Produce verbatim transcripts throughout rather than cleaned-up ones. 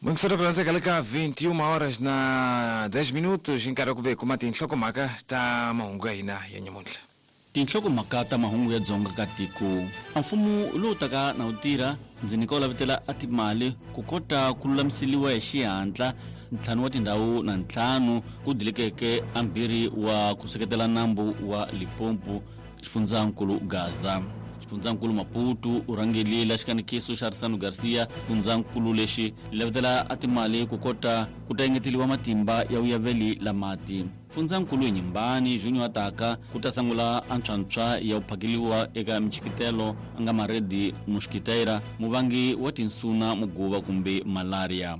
Muyingiseri ku le ka vinte e uma horas na dez minutos, nkarhi wa ku ve kuma tinhlokomhaka ta mahungu ya hina ya nyamuntlha. Tinhlokomhaka ta mahungu ya dzonga ka tiko: a mfumo lowu taka na wu tirha ndzi nyika wu lavetela a timali ku kota ku lulamiseliwa hi xihatla ntlhanu wa tindhawu na ntlhanu ku dilekeke ambirhi wa ku seketela nambu wa Limpopo. Xifundzankulu Gaza, xifundzankulu Maputo u rhangelile xikanikiso xa Arisano Garcia. Xifundzankulu lexi lavetela a timali ku kota ku ta engeteliwa matimba ya vuyaveli la mati. Fundzankulu Nyimbani Junior ataka ku ta sungula antshwantshwa ya ku phakeliwa eka michikitelo a nga maredi mosquiteira muvangi wa tinsuna muguva kumbe malaria.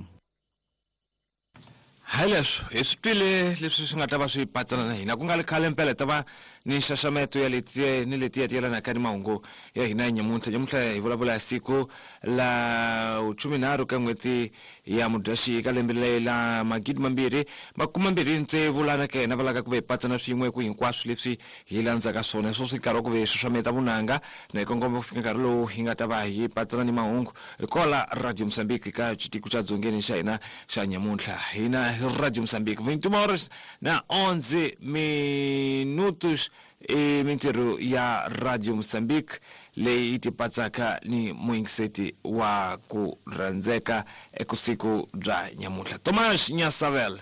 Hi leswo hi swi twile leswi swi nga ta va swi patsana na hina ku nga ri khale mpela hi ta va ni nxaxameto ya leti ni letiya ti yelanaka ni mahungu ya hina ya nyamuntlha. Nyamuntlha hi vulavula hi siku la khumenharhu ka n'hweti ya Mudyaxihi ka lembe leri la magidi mambirhi makume mbirhi tsevu, lana ka hina va laka ku ve hi patsana swin'we ku hinkwaswo leswi hi landzaka swona. Sweswi nkarhi wa ku ve hi xaxameta vunanga na hi kongoma ku fika nkarhi lowu hi nga ta va hi patsana ni mahungu hi kola Radio Mozambique ka xitiko xa dzongeni xa hina xa nyamuntlha. Hina Radio Mozambique, vinte e uma horas na onze minutos, i mintirho ya Radio Mozambique leyi yi tipatsaka ni muyingiseti wa ku rhandzeka ekusiku bya nyamuntlha, Tomas Nyasavel.